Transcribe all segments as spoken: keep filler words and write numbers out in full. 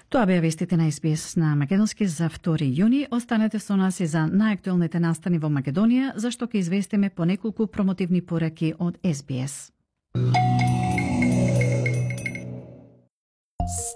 Тоа беа вестите на Ес Би Ес на македонски за втори јуни. Останете со нас и за најактуелните настани во Македонија, зашто ќе известиме по неколку промотивни пораки од Ес Би Ес.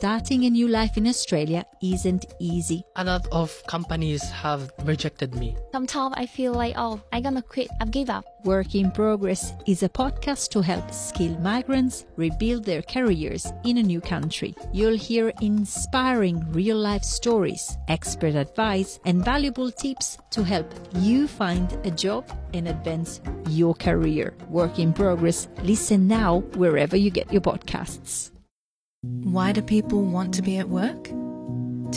Starting a new life in Australia isn't easy. A lot of companies have rejected me. Sometimes I feel like, oh, I'm gonna quit, I've give up. Work in Progress is a podcast to help skilled migrants rebuild their careers in a new country. You'll hear inspiring real-life stories, expert advice, and valuable tips to help you find a job and advance your career. Work in Progress. Listen now wherever you get your podcasts. Why do people want to be at work?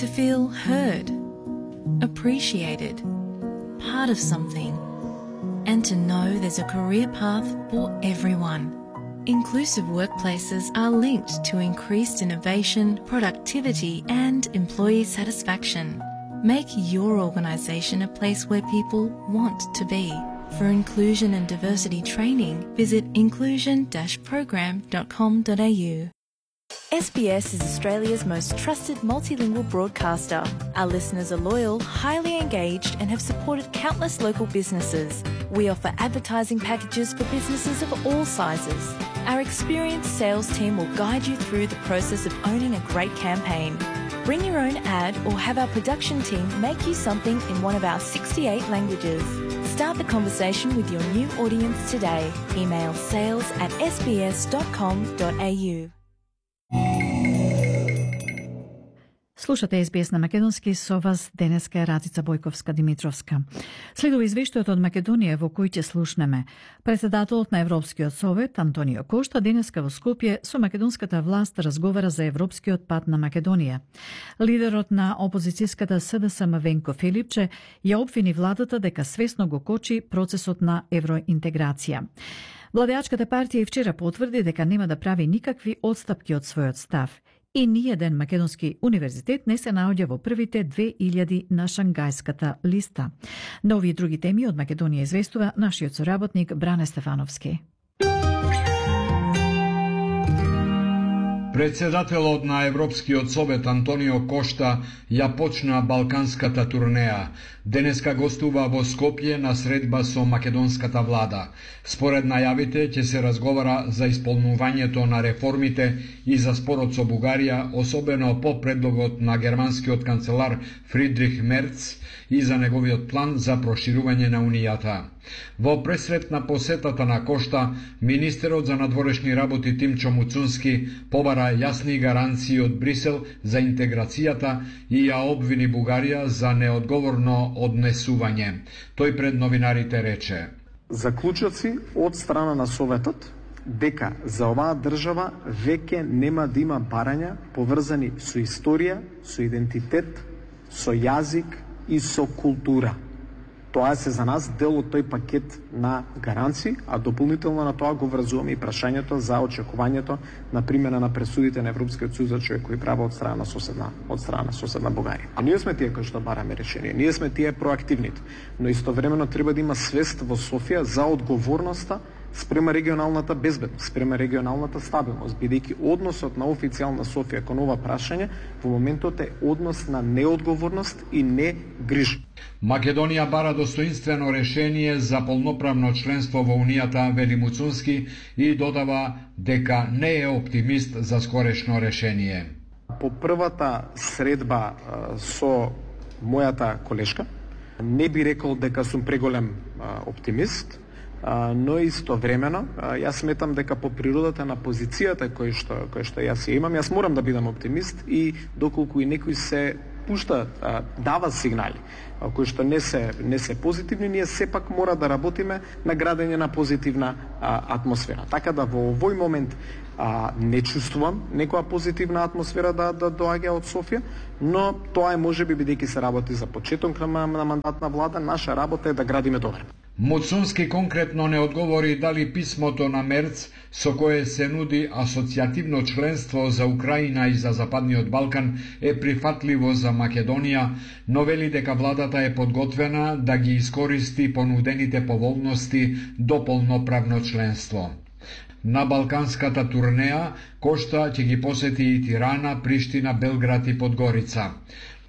To feel heard, appreciated, part of something, and to know there's a career path for everyone. Inclusive workplaces are linked to increased innovation, productivity, and employee satisfaction. Make your organisation a place where people want to be. For inclusion and diversity training, visit inclusion dash program dot com dot a u. S B S is Australia's most trusted multilingual broadcaster. Our listeners are loyal, highly engaged, and have supported countless local businesses. We offer advertising packages for businesses of all sizes. Our experienced sales team will guide you through the process of owning a great campaign. Bring your own ad or have our production team make you something in one of our sixty-eight languages. Start the conversation with your new audience today. Email sales at s b s dot com dot a u. Слушате Ес Би Ес на македонски, со вас денеска е Рацица Бојковска-Димитровска. Следува извештајот од Македонија во кој ќе слушнеме. Председателот на Европскиот совет Антонио Кошта денеска во Скопје со македонската власт разговара за европскиот пат на Македонија. Лидерот на опозицијската С Д С М Венко Филипче ја обвини владата дека свесно го кочи процесот на евроинтеграција. Владеачката партија и вчера потврди дека нема да прави никакви отстапки од својот став. И ниеден македонски универзитет не се наоѓа во првите две илјади на Шангајската листа. На овие други теми од Македонија известува нашиот соработник Бране Стефановски. Председателот на Европскиот совет Антонио Кошта ја почна балканската турнеја. Денеска гостува во Скопје на средба со македонската влада. Според најавите ќе се разговара за исполнувањето на реформите и за спорот со Бугарија, особено по предлогот на германскиот канцелар Фридрих Мерц и за неговиот план за проширување на Унијата. Во пресрет на посетата на Кошта, министерот за надворешни работи Тимчо Муцунски побара јасни гаранции од Брисел за интеграцијата и ја обвини Бугарија за неодговорно однесување. Тој пред новинарите рече: заклучоци од страна на Советот дека за оваа држава веќе нема да има барања поврзани со историја, со идентитет, со јазик и со култура. Тоа се за нас дел од тој пакет на гаранции, а дополнително на тоа го врзуваме и прашањето за очекувањето на примена на пресудите на Европскиот суд за човекови права од страна на соседна, од страна на соседна Бугарија. А ние сме тие кои што бараме решение, ние сме тие проактивните, но истовремено треба да има свест во Софија за одговорноста спрема регионалната безбедност, спрема регионалната стабилност, бидејќи односот на официјална Софија кон ова прашање во моментот е однос на неодговорност и не грижа. Македонија бара достоинствено решение за полноправно членство во Унијата, вели Муцунски, и додава дека не е оптимист за скорешно решение. По првата средба со мојата колешка, не би рекол дека сум преголем оптимист, но истовремено јас сметам дека по природата на позицијата кој што кој што јас ја имам, јас морам да бидам оптимист и доколку и некој се пушта, дава сигнали кои што не се не се позитивни, ние сепак мора да работиме на градење на позитивна а, атмосфера. Така да во овој момент а, не чувствувам некоја позитивна атмосфера да да доаѓа од Софија, но тоа е можеби бидејќи се работи за почеток на, на мандат на влада, наша работа е да градиме добро. Муцунски конкретно не одговори дали писмото на Мерц со кое се нуди асоцијативно членство за Украина и за Западниот Балкан е прифатливо за Македонија, но вели дека владата е подготвена да ги искористи понудените поволности до полноправно членство. на балканската турнеја, Кошта ќе ги посети и Тирана, Приштина, Белград и Подгорица.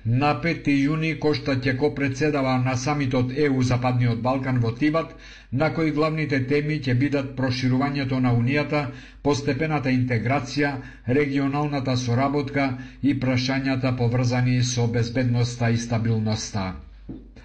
На пети јуни Кошта ќе копредседава на самитот Е У Западниот Балкан во Тибат, на кои главните теми ќе бидат проширувањето на Унијата, постепената интеграција, регионалната соработка и прашањата поврзани со безбедноста и стабилноста.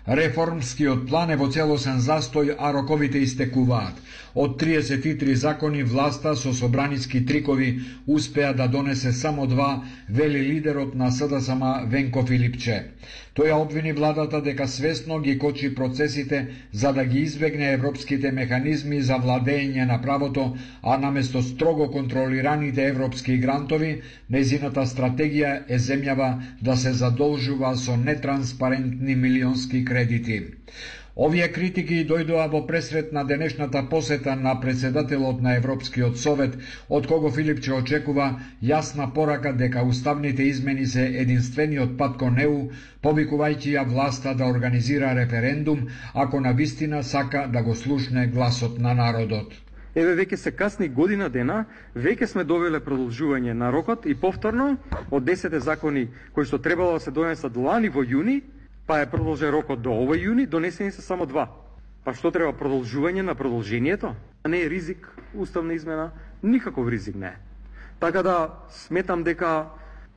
Реформскиот план е во целосен застој, а роковите истекуваат. Од триесет и три закони власта со собраниски трикови успеа да донесе само два, вели лидерот на С Д С М Венко Филипче. Тој ја обвини владата дека свесно ги кочи процесите за да ги избегне европските механизми за владење на правото, а наместо строго контролираните европски грантови, нејзината стратегија е земјава да се задолжува со нетранспарентни милионски кредити. Овие критики дојдоа во пресрет на денешната посета на председателот на Европскиот совет, од кого Филипче очекува јасна порака дека уставните измени се единствениот пат кон Е У, повикувајќи ја власта да организира референдум, ако навистина сака да го слушне гласот на народот. Еве веќе се касни година дена, веќе сме довеле продолжување на рокот и повторно од десет закони кои што требало да се донесат лани во јуни, па е продолжен рокот до овој јуни, донесени се само два. Па што треба продолжување на продолжението? А не е ризик, уставна измена, никаков ризик не е. Така да сметам дека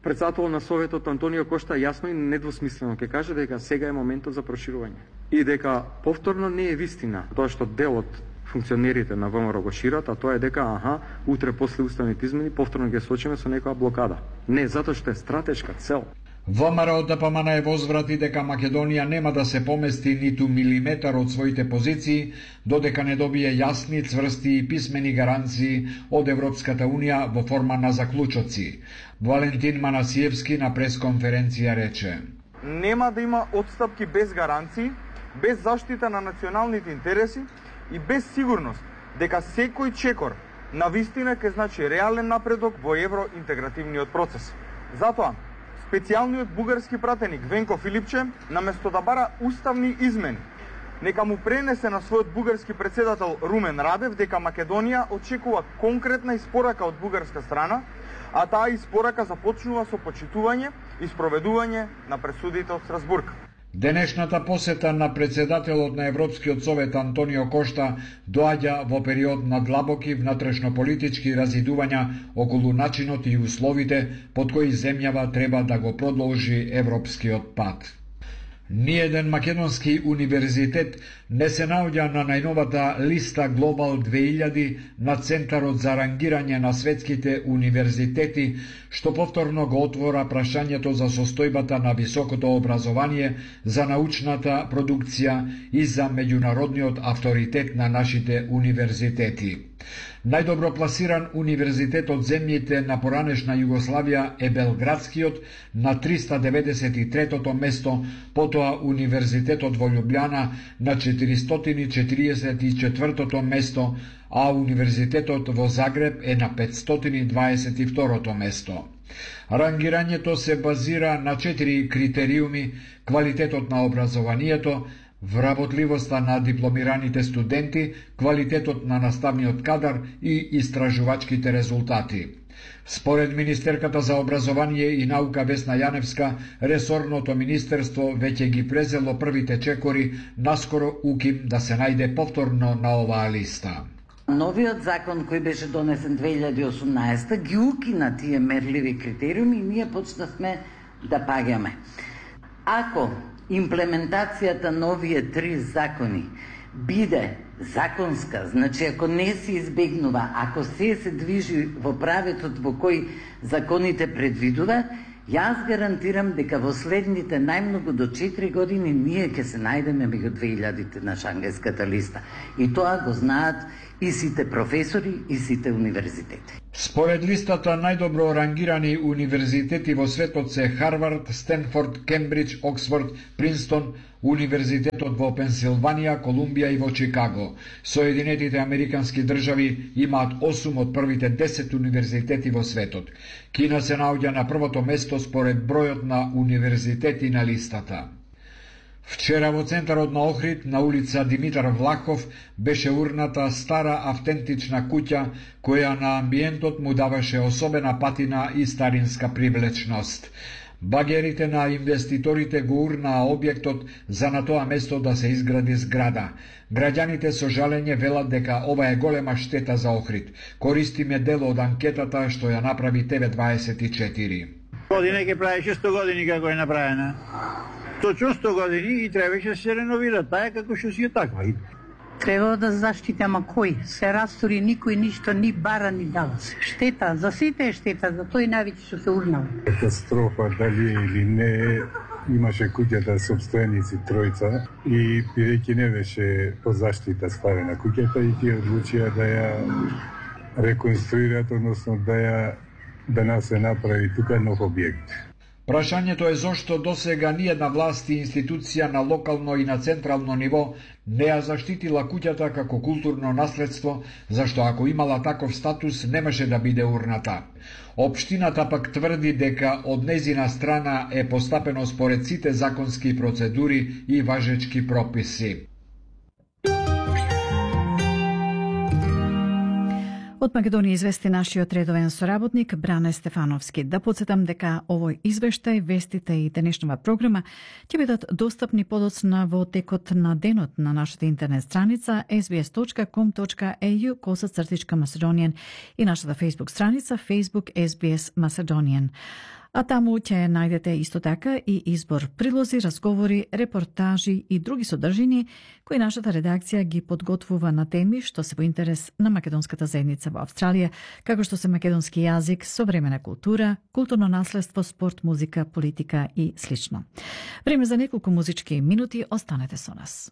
председател на Советот Антонио Кошта јасно и недвосмислено ќе каже дека сега е моментот за проширување. И дека повторно не е вистина тоа што дел од функционерите на ВМРО го шират, а тоа е дека аха, утре после уставните измени повторно ќе сочиме со некоја блокада. Не, затоа што е стратешка цел. ВМРО Д П М Н е возврати дека Македонија нема да се помести ниту милиметар од своите позиции, додека не добие јасни, цврсти и писмени гаранции од Европската Унија во форма на заклучоци. Валентин Манасиевски на пресконференција рече: Нема да има отстапки без гаранции, без заштита на националните интереси и без сигурност дека секој чекор на вистина ќе значи реален напредок во евроинтегративниот процес. Затоа специјалниот бугарски пратеник Венко Филипче, наместо да бара уставни измени, нека му пренесе на својот бугарски председател Румен Радев дека Македонија очекува конкретна испорака од бугарска страна, а таа испорака започнува со почитување и спроведување на пресудите од Страсбург. Денешната посета на председателот на Европскиот совет Антонио Кошта доаѓа во период на длабоки внатрешнополитички разидувања околу начинот и условите под кои земјава треба да го продолжи европскиот пат. Ниеден македонски универзитет не се наоѓа на најновата листа Глобал две илјади на Центарот за рангирање на светските универзитети, што повторно го отвора прашањето за состојбата на високото образование, за научната продукција и за меѓународниот авторитет на нашите универзитети. Најдобро пласиран универзитет од земјите на поранешна Југославија е Белградскиот на триста деветдесет и третото место, потоа Универзитетот во Љубљана на четиристотини и четиридесет и четвртото место, а Универзитетот во Загреб е на петстотини и дваесет и второто место. Рангирањето се базира на четири критериуми: квалитетот на образованието, вработливоста на дипломираните студенти, квалитетот на наставниот кадар и истражувачките резултати. Според министерката за образование и наука Весна Јаневска, ресорното министерство веќе ги презело првите чекори, наскоро уким да се најде повторно на оваа листа. Новиот закон кој беше донесен две илјади и осумнаесета ги укина тие мерливи критериуми и ние почнавме да паѓаме. Ако имплементацијата на овие три закони биде законска, значи ако не се избегнува, ако се се движи во правецот во кој законите предвидува, јас гарантирам дека во следните најмногу до четири години ние ќе се најдеме меѓу две илјадите на Шангајската листа. И тоа го знаат и сите професори и сите универзитети. Според листата најдобро рангирани универзитети во светот се Харвард, Стенфорд, Кембридж, Оксфорд, Принстон, Универзитетот во Пенсилванија, Колумбија и во Чикаго. Соединетите Американски држави имаат осум од првите десет универзитети во светот. Кина се наоѓа на првото место според бројот на универзитети на листата. Вчера во центарот на Охрид, на улица Димитар Влахов, беше урната стара автентична куќа, која на амбиентот му даваше особена патина и старинска привлечност. Багерите на инвеститорите го урнаа објектот за на тоа место да се изгради зграда. Граѓаните со жалење велат дека ова е голема штета за Охрид. Користиме дел од анкетата што ја направи Т В дваесет и четири. Година ќе правеше сто години како е направена. Точно сто години и требаше да се реновира, таа како што си е таква. Треба да заштити, ама кој? Се растори, никој ништо ни бара ни дава. Штета, за сите е штета, за тој највеќе што се урнал. Катастрофа, дали или не, имаше куќата собственици тројца и бидејќи не беше по заштита ставена куќата и тие одлучија да ја реконструират, односно да ја да нас се направи тука нов објект. Прашањето е зошто досега ниедна власт и институција на локално и на централно ниво не ја заштитила куќата како културно наследство, зашто ако имала таков статус немаше да биде урната. Општината пак тврди дека од незина страна е постапено според сите законски процедури и важечки прописи. Од Македонија извести нашиот редовен соработник Бране Стефановски. Да подсетам дека овој извештај, вестите и денешнава програма ќе бидат достапни подоцна во текот на денот на нашата интернет страница ес би ес точка ком точка е ю косацртичка Macedonian и нашата Facebook страница Facebook ес би ес Macedonian. А таму ќе најдете исто така и избор прилози, разговори, репортажи и други содржини кои нашата редакција ги подготвува на теми што се во интерес на македонската заедница во Австралија, како што се македонски јазик, современа култура, културно наследство, спорт, музика, политика и слично. Време за неколку музички минути, останете со нас.